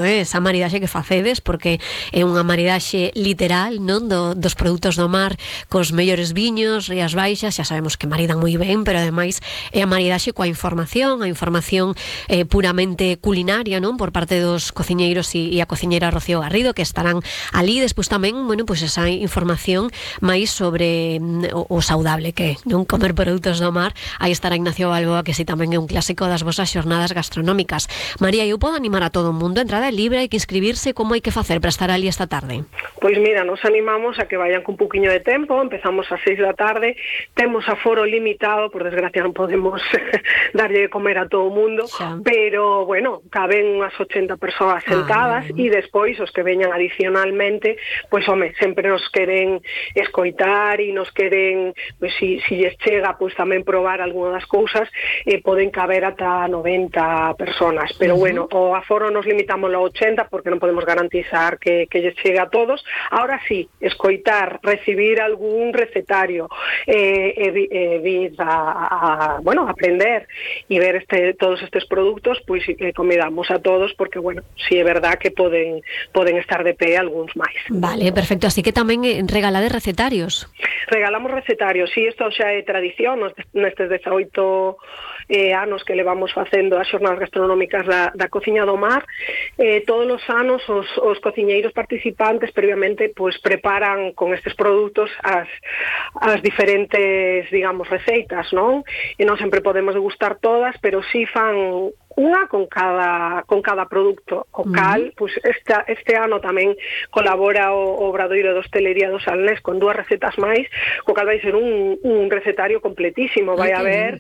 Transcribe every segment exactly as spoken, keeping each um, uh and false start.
esa maridaxe que facedes, porque é unha maridaxe literal, non, do, dos produtos do mar cos mellores viños, Rías Baixas, xa sabemos que maridan moi ben, pero ademais é a maridaxe coa información, a información eh, puramente culinaria, non, por parte dos cociñeiros e, e a cociñeira Rocío Garrido, que estarán ali. Despois tamén, bueno, pois esa información máis sobre mm, o, o saudable que é, non, comer produtos do mar. Aí estará Ignacio Balboa, que si tamén é un clásico das vosas xornadas gastronómicas. María, eu podo animar a todo o mundo, a entrada libre, hai que inscribirse, como hai que facer para estar ali esta tarde? Pois mira, nos animamos a que vayan con un poquinho de tempo, empezamos ás seis da tarde, temos aforo limitado, por desgracia non podemos darlle de comer a todo o mundo, xa, pero, bueno, caben unhas ochenta persoas sentadas, ah, e despois os que veñan adicionalmente, pois, home, sempre nos queren escoitar e nos queren, pois, si, si lles chega, pois, tamén probar algunha das cousas, eh, poden caber ata noventa personas, pero, uh-huh, bueno, o aforo nos limitamos a ochenta porque non podemos garantizar que, que lles chegue a todos. Ahora sí, escoitar, recibir algún recetario, eh, e, e vir a, a, bueno, aprender e ver este, todos estes produtos, pois eh, convidamos a todos, porque, bueno, si é verdad que poden, poden estar de pé algúns máis. Vale, perfecto, así que tamén regalades recetarios. Regalamos recetarios, si, isto xa é tradición, nestes dezaoito eh, anos que levamos facendo as xornadas gastronómicas da, da cociña do mar, eh, todos os anos os, os cociñeiros participantes previamente pois preparan con estes produtos as, as diferentes, digamos, receitas, non? E non sempre podemos degustar todas, pero si fan unha con cada con cada produto. O cal, pois esta, este ano tamén colabora o, o Obradoiro de Hostelería do Salnés con dúas recetas máis, o cal vai ser un, un recetario completísimo, vai haber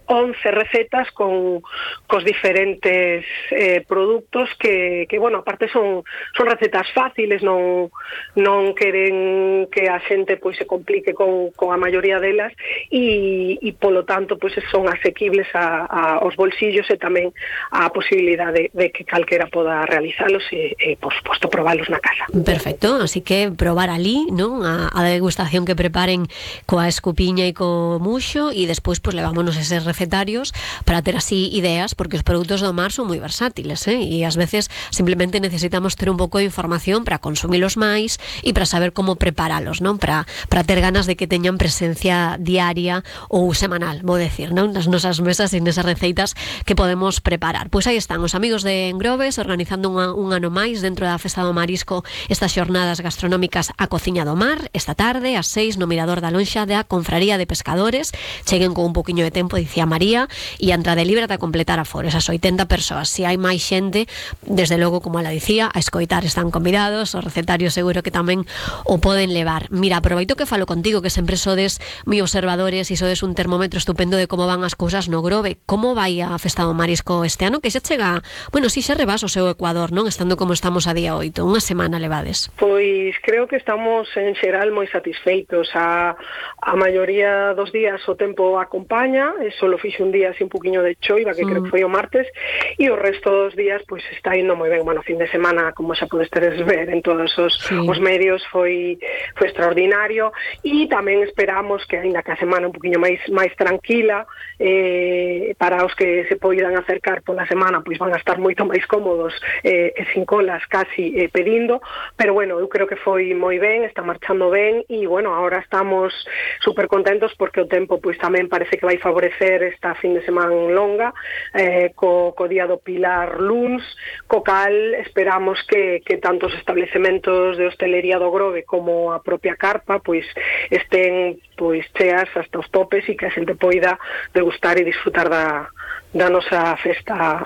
once recetas con cos diferentes eh, produtos que, que, bueno, aparte son son recetas fáciles, non non queren que a xente pois se complique con, con a maioría delas e, e polo tanto pois son asequibles a, a, aos bolsillos e tamén a posibilidade de, de que calquera poda realizalos e, e por suposto probalos na casa. Perfecto, así que probar ali, non, a, a degustación que preparen coa escupiña e co muxo e despois pois levámonos ese recetarios para ter así ideas, porque os produtos do mar son moi versátiles, eh? E ás veces simplemente necesitamos ter un pouco de información para consumilos máis e para saber como preparalos, non? Para, para ter ganas de que teñan presencia diaria ou semanal, vou decir, non? Nas nosas mesas e nesas receitas que podemos preparar. Pois aí están os amigos de Engrobes organizando unha, un ano máis dentro da Festa do Marisco estas xornadas gastronómicas a cociña do mar, esta tarde ás seis no Mirador da Lonxa da Confraría de Pescadores. Cheguen con un poquinho de tempo, dicía María, e a entrada libre ata completar aforo, esas oitenta persoas. Se hai máis xente, desde logo, como ela dicía, a escoitar están convidados, os recetarios seguro que tamén o poden levar. Mira, aproveito que falo contigo, que sempre sodes moi observadores e sodes un termómetro estupendo de como van as cousas no Grove. Como vai a Festa do Marisco este ano, que xa chega, bueno, si xa rebas o seu Ecuador, non? Estando como estamos a día oito, unha semana levades. Pois creo que estamos en xeral moi satisfeitos. A, a maioría dos días o tempo acompaña, e solo fixe un día así un poquinho de choiva, que mm. creo que foi o martes, e o resto dos días pois está indo moi ben. Bueno, fin de semana, como xa podes teres ver en todos os, sí. os medios, foi foi extraordinario, e tamén esperamos que, aínda que a semana un poquinho máis máis tranquila, eh, para os que se poidan acercar pola semana, pois van a estar moito máis cómodos eh, e sin colas casi eh, pedindo, pero bueno, eu creo que foi moi ben, está marchando ben, e bueno, agora estamos super contentos porque o tempo pois tamén parece que vai favorecer esta fin de semana longa, eh, co, co día do Pilar luns, co cal esperamos que, que tanto os establecementos de hostelería do Grove como a propia carpa pois estén pois cheas hasta os topes e que a xente poida degustar e disfrutar da, da nosa festa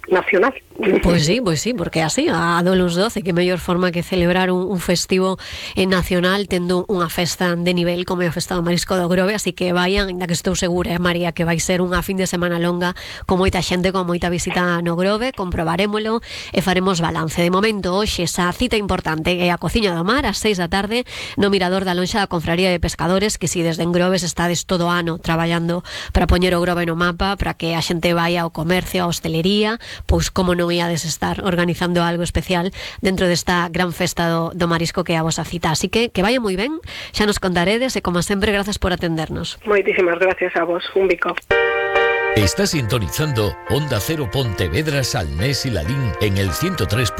nacional. Pois sí, pois sí, porque así a do luns doce, que mellor forma que celebrar un, un festivo eh, nacional tendo unha festa de nivel como é a Festa do Marisco do Grove, así que vayan, ainda que estou segura, eh, María, que vai ser unha fin de semana longa con moita xente, con moita visita no Grove, comprobarémolo e faremos balance. De momento, hoxe, esa cita importante é a Cociña do Mar, ás seis da tarde, no Mirador da Lonxa da Confraría de Pescadores, que si desde Engrobes estades todo o ano traballando para poñer o Grove no mapa, para que a xente vaya ao comercio, a hostelería, pois como non iades estar organizando algo especial dentro desta gran festa do, do marisco que é a vosa cita. Así que que vaya moi ben, xa nos contaredes e como sempre, grazas por atendernos. Moitísimas gracias a vos, un bico. Está sintonizando Onda Cero Pontevedra, Salnés y Lalín en el ciento tres.